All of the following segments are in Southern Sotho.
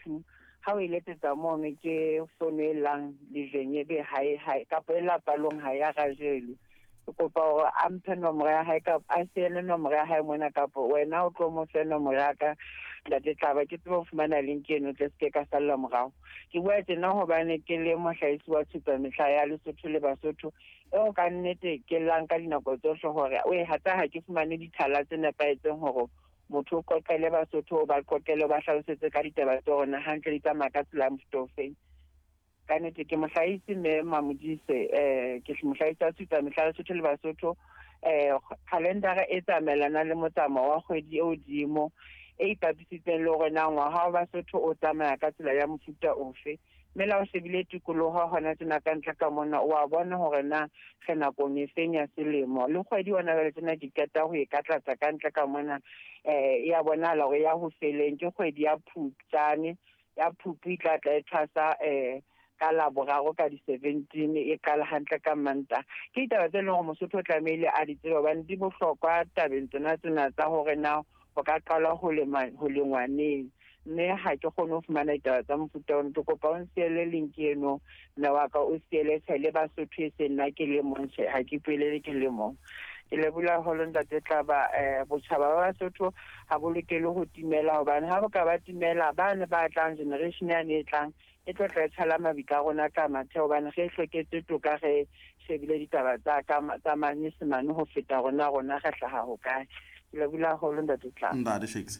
2. Ha o e letsetsa mono ke fono e llang lejweng ebe ha e ha kapa e lapalong ha ya rajelwe. Ke kopa hore a mphe nomoro ya hae kapa a siele nomoro ya hae mona kapa wena o tlo mo fe nomoro ya ka ntate Tlaba ke tsebe ho fumana link eno tle se ke ka salla morao. Ke bua tjena hobane ke le mohlahisi wa Tshupamehla ya Lesotho le Basotho eo ka nnete ke llang ka dinako tsohle hore oe hatsa ha ke fumane dithala tse nepahetseng hore motho o qoqele Basotho o ba qoqele o ba hlalosetse ka ditaba tsa rona hantle di tsamaya ka tsela ya mofuta ofeng. Ka nnete ke mohlahisi mme Mamodise ke mohlahisi wa Tshupamehla Lesotho le Basotho calendar e tsamaelanang le motsamao wa kgwedi e hodimo e ipapisitseng le hore na ngwaga wa Basotho o tsamaya ka tsela ya mofuta ofe. Mme la o shebile tikoloho hona tjena ka ntle ka mona o a bona hore na re nakong e feng ya selemo. Le kgwedi hona jwale tjena ke qeta ho e katlatsa ka ntle ka mona e ya bonahala hore ya ho feleng ke kgwedi ya Phupjane. Ya Phupu e tla tla e thwasa ka Laboraro ka di-17 e qala hantle ka Mantaha. Ke ditaba tse leng hore Mosotho o tlamehile a di tsebe hobane di bohlokwa tabeng tsena tsena tsa hore na ho ka qalwa ho lema ho lengwa neng. Mme ha ke kgone ho fumana ditaba tsa mofuta ono. Ke kopa o nsiele link eno mme wa ka o siele tjhe le Basotho e seng nna ke le mong tjhe ha ke ipuelele ke le mong. Ke lebohile haholo ntate Tlaba botjhaba ba Basotho ha bo lokele ho timela hobane ha bo ka ba timela bane ba tlang generation yane e tlang e tlo tla e tshala mabitla a rona ka mathe hobane re hloketse toka re shebile ditaba tsa ka tsa manyesemane ho feta rona rona re hlaha hokae. Ke lebohile haholo ntate Tlaba. Ntate Shakes.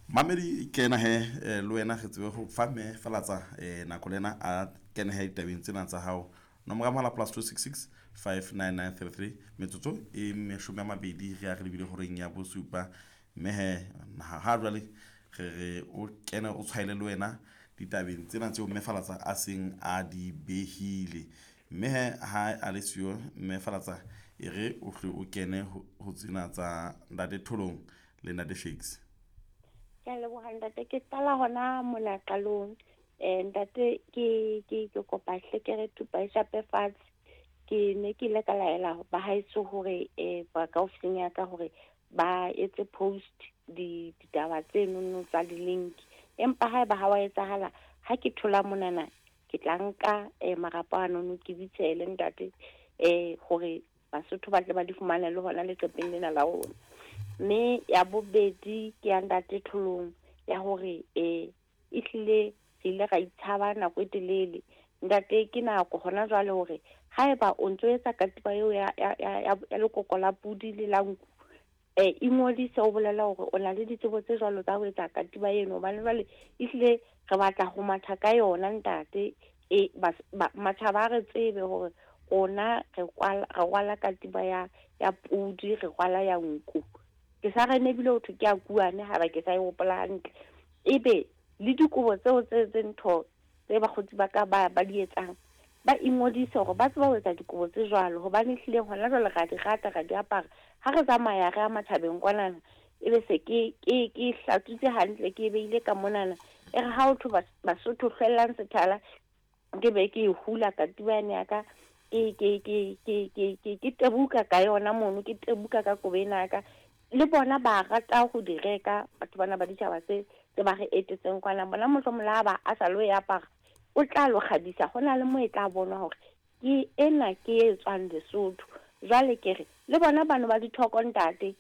Mamedi kena he le wena re tsebe ho fa mme Falatsa nako le ena a kene he ditabeng tsena tsa hao. Nomoro ya mohala +266 59933 metsotso e 20 re ya re lebile horeng ya bosupa. Mme he ha jwale re re o kene o tshwaele le wena ditabeng tsena tseo mme Falatsa a seng a di behile. Mme he ha a le siyo mme Falatsa e re o hle o kene ho tsena tsa ntate Tholong le ntate Shakes. Ke a leboha ntate, ke qala hona mona qalong. Ntate ke ke ke kopa hle ke re thupa e shape fatshe. Ke ne ke ile ka laela ba haeso hore ba ka ofising ya ka hore ba etse post di ditaba tse nono tsa di-link. Empa haeba ha wa etsahala ha ke thola monana ke tla nka marapo anono ke ditshele ntate hore Basotho ba tle ba di fumane le hona leqepheng lena la rona. Mme ya bobedi ke ya ntate Tholong ya hore ehlile re ile ra itshaba nako e telele. Ntate ke nako hona jwale hore haeba o ntso etsa katiba eo ya ya ya ya lekoko la pudi le la nku ingodise o bolela hore o na le ditsebo tse jwalo tsa ho etsa katiba eno hobane jwale ehlile re batla ho matha ka yona ntate. Matjhaba a re tsebe hore rona re kwala re rwala katiba ya ya pudi re rwala ya nku. Ke sa re nebile ho thwe ke ya kuane haeba ke sa e hopola hantle. Ebe le dikobo tseo tse tse ntho tse bakgotsi ba ka ba ba di etsang ba ingodise hore ba tseba ho etsa dikobo tse jwalo hobane ehlile hona jwale ra di rata ra di apara. Ha re tsamaya re ya matjhabeng kwanana ebe se ke ke ke hlatswitse hantle ke e behile ka monana. E re ha ho thwe Basotho hlwellang sethala ke be ke e hula katiba yane ya ka ke ke ke ke ke ke ke tebuka ka yona mono ke tebuka ka kobo ena ya ka. Le bona ba rata ho di reka batho bana ba ditjhaba tse tse ba re etetseng kwana. Bona mohlomong le ha ba a sa lo e apara o tla lo kgabisa ho na le mo e tla bonwa hore ke ena ke e tswang Lesotho. Jwale ke re le bona bano ba dithoko ntate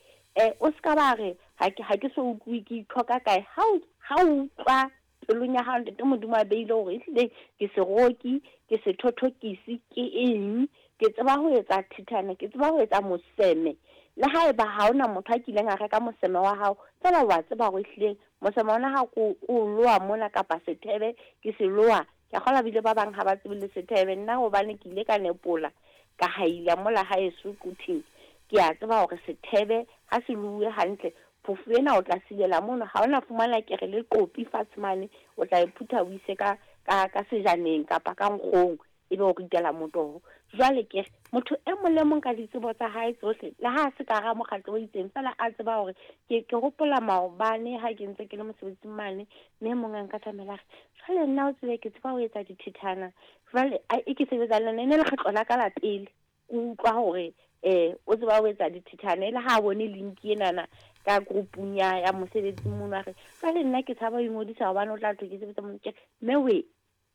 o ska ba re ha ke ha ke so utlwe ke ithoka kae. Ha o ha o utlwa pelong ya hao ntate Modimo a beile hore ehlile ke seroki ke sethothokisi ke eng ke tseba ho etsa thithane ke tseba ho etsa moseme. Le haeba ha hona motho a kileng a reka moseme wa hao feela wa tseba hore ehlile moseme ona ha ko o loa mona kapa sethebe ke se loa. Ke a kgolwa bile ba bang ha ba tsebe le sethebe nna hobane ke ile ka nepola ka haila mola haeso Quthing. Ke a tseba hore sethebe ha se louwe hantle phofu ena o tla silela mono ha ona fumana kere le qopi fatshe mane o tla e phutha o ise ka ka ka sejaneng kapa ka nkgong ebe o ritela motoho. Jwale ke re motho e mong le mong ka ditsebo tsa hae tsohle le ha se ka hara mokgatlo o itseng feela a tseba hore ke ke hopola maobane ha ke ntse ke le mosebetsing mane mme mong a nkatamela a re jwale nna o tsebe ke tseba ho etsa dithithana jwale e ke sebetsa le yona e ne lekgetlo la ka la pele ke utlwa hore O tseba ho etsa dithithane le ha bone link enana ka groupung ya mosebetsi mono, a re jwale nna ke tshaba ho ingodisa hobane o tla thwe ke sebetsa mono. Ke re mme we,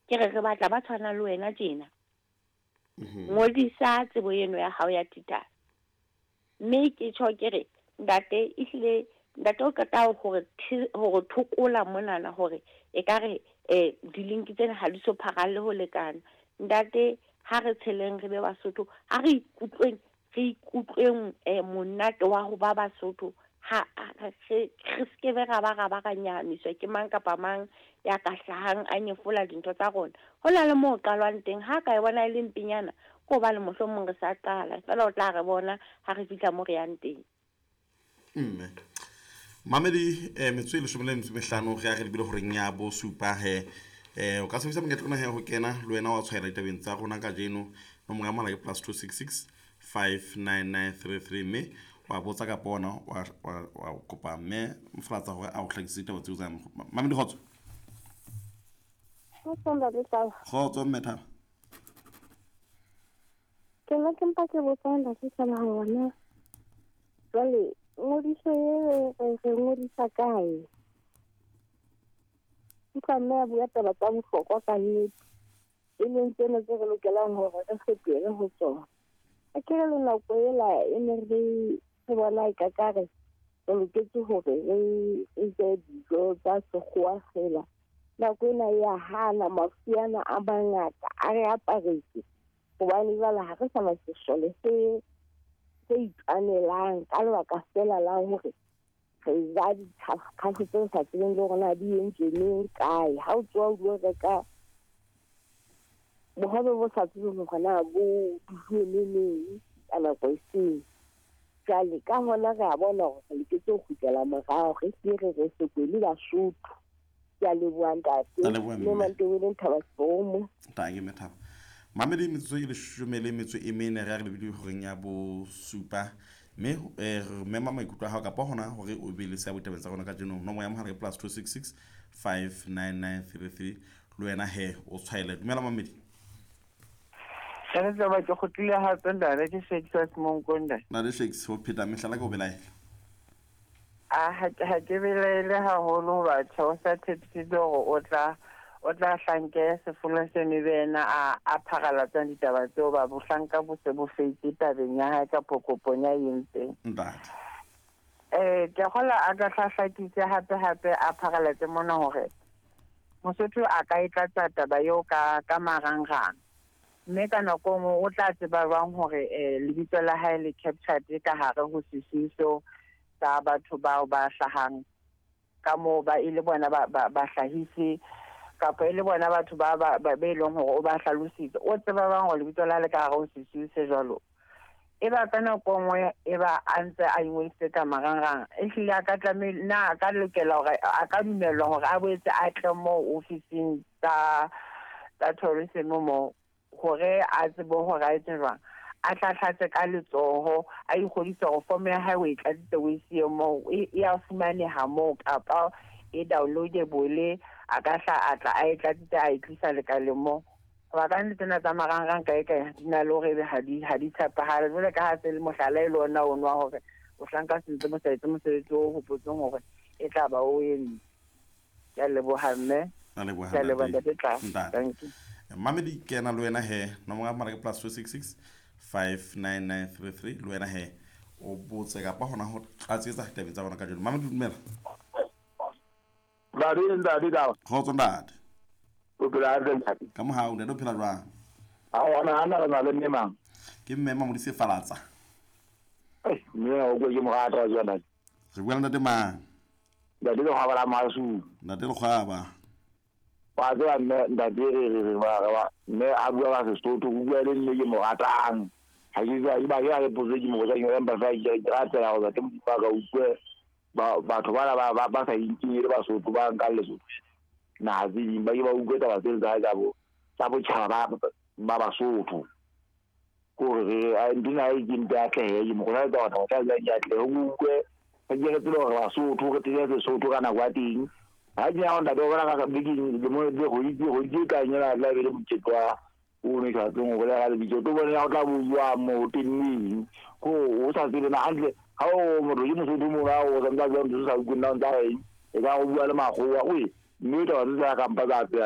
ke re re batla ba tshwanang le wena tjena. Ngodisa tsebo eno ya hao ya thithane. Mme ke tjho ke re ntate ehlile ntate o qeta hore hore thokola monana hore ekare di-link tsena ha di so pharalle ho lekana. Ntate ha re tsheleng re be Basotho, ha re ikutlweng re ikutlweng monate wa ho ba Basotho, ha re se be ra ba ra ba ra nyahamiswa ke mang kapa mang ya ka hlahang a nyefola dintho tsa rona. Ho na le moo qalwang teng, ha ka e bona e le mpenyana ke hobane mohlomong re sa qala, feela o tla re bona ha re fihla mo re yang teng. Mme mamedi metso e 15 re ya re lebile horeng ya bosupa he. O ka sebedisa monyetla ona he ho kena le wena wa tshwaela ditabeng tsa rona kajeno. Nomoro ya mohala ke +266 59933, mme wa botsa kapa ona wa kopa mme Mofalatsa hore a o hlakisetse ditaba tseo tsa mamedi. Kgotso. Kgotso ntate Taba. Kgotso mme Thaba. Ke nna ke mpa ke botsa ntate Taba hore jwale ngodiso e re ngodisa kae? Utlwa mme a bua taba tsa bohlokwa ka nnete, e leng tsena tse re lokelang hore re fetohele ho tsona. A ke re le nako ela e ne re bona e kakare re loketse hore re je dijo tsa sekgowa fela. Nako ena ya hana, mafu ana a mangata a re aparetse, hobane jwale ha re sa na sesole se itwanelang ka lebaka fela la hore re ja dikhafo tse sa tsebeng le hore na di entswe neng kae. Ha o tsoha o lo reka bohobe bo sa tsebeng hore na bo duwe neng ka nako e feng. Jwale ka hona re a bona hore re loketse ho kgutlela morao, re hle re re sekwele Basotho. Ke a leboha ntate. Mme Mantobeleng Thaba Seromo. Ntate mme Thaba. Mamedi metsotso e 14 re ya re lebile horeng ya bosupa, mme re mema maikutlo a hao kapa hona hore o be le seabo ditabeng tsa rona kajeno. Nomoro ya mohala ke +266 59933, le wena he o tshwaele. Dumela mamedi. Ntate Taba, ke kgutlile hape ntate, ke Shakes wa Semonkong ntate. Ntate Shakes, ho pheta mehlala ke o belaela. A ha ke belaele haholo hoba tjhe o sa tshepisitse hore o tla hlanke sefolo seno ebe yena a pharalatsang ditaba tseo, ba bohlanka bo se bo fetse tabeng ya hae kapo kopong ya entseng. Ntate. Ke kgola a ka hlahlakise hape hape a pharalatse mona hore Mosotho a ka e tlatsa taba eo ka marangrang. Mme ka nako nngwe o tla tseba jwang hore lebitso la hae le captured ka hare ho sesiu seo sa batho bao ba hlahang ka moo, ba e le bona ba hlahise kapa e le bona batho ba be leng hore o ba hlalositse. O tseba jwang hore lebitso la hae le ka hare ho sesiu se jwalo? E ba ka nako nngwe e ba a ntse a ingodisitse ka marangrang, ehlile a ka tlamehile na a ka lokela hore a ka dumellwa hore a boetse a tle moo ofising tsa tourism moo hore a tsebe hore a etse jwang, a tlahlatse ka letsoho, a ikgodise hore form ya hae o e tlatsitse o e siye moo, e a fumaneha moo kapa e downloadable, a ka hla a tla a e tlatsitse a e tlisa lekaleng moo. Hoba ka nnete tsena tsa marangrang kae kae di na le hore ebe ha di tshepahale. Jwale ka ha se le mohlala e le ona ono wa hore bohlanka se ntse bo sa etse mosebetsi o hopotseng hore e tla ba o entse. Ke a leboha mme. A leboha Ke a leboha ntate. ntate Tla. Ntate. Thank you. Mamedi ke ena le wena he, nomoro ya mohala ke +266 59933, le wena he o botse kapa hona ho tlatsetsa ditabeng tsa rona kajeno. Mamedi dumela. Ntate, ntate Taba. Kgotso ntate. O phela hantle ntate? Ka mohau ntate, o phela jwang? Ha ona hana re na le mme mang? Ke mme Mamodise Falatsa. Mme o ke mo rata wa ntate. Re bua le ntate mang? Ntate Lekgwaba la Masu. Ntate Lekgwaba. Wa tseba mme ntate re ba mme a bua ka Sesotho, o bua le mme ke mo ratang. Ha ke tswa ba ke a re potso ke mo botsa ke empa fa ke ratela hore ntate Modimo a ka utlwe batho bana ba sa inkeng e le Basotho ba nkang Lesotho. Naha tse ding ba ke ba utlwe taba tseno tsa hae tsa botjhaba ba Basotho. Kore re ntho ena e ke mpe atlehe, ke mo kgothaletsa hore taba tsa hae di atlehe, o utlwe re ke re tsebe hore Basotho re tsebe Sesotho ka nako ya teng. Ha ke ya ho ntate o bona ka bekeng lemong tse kgwedi tse tlang ena tla be le mokete O ne sa tsebeng ho bolela ka lebitso. Tlo bone ya o tla bua mo tenneng. Ko o sa tsebe na hantle ha o motho ke Mosotho mona o santse a bua ntho tse sa utlweng na o ntsa reng. E ka go bua le makgowa. Oe mme taba tse tsa kampa tsa tseya.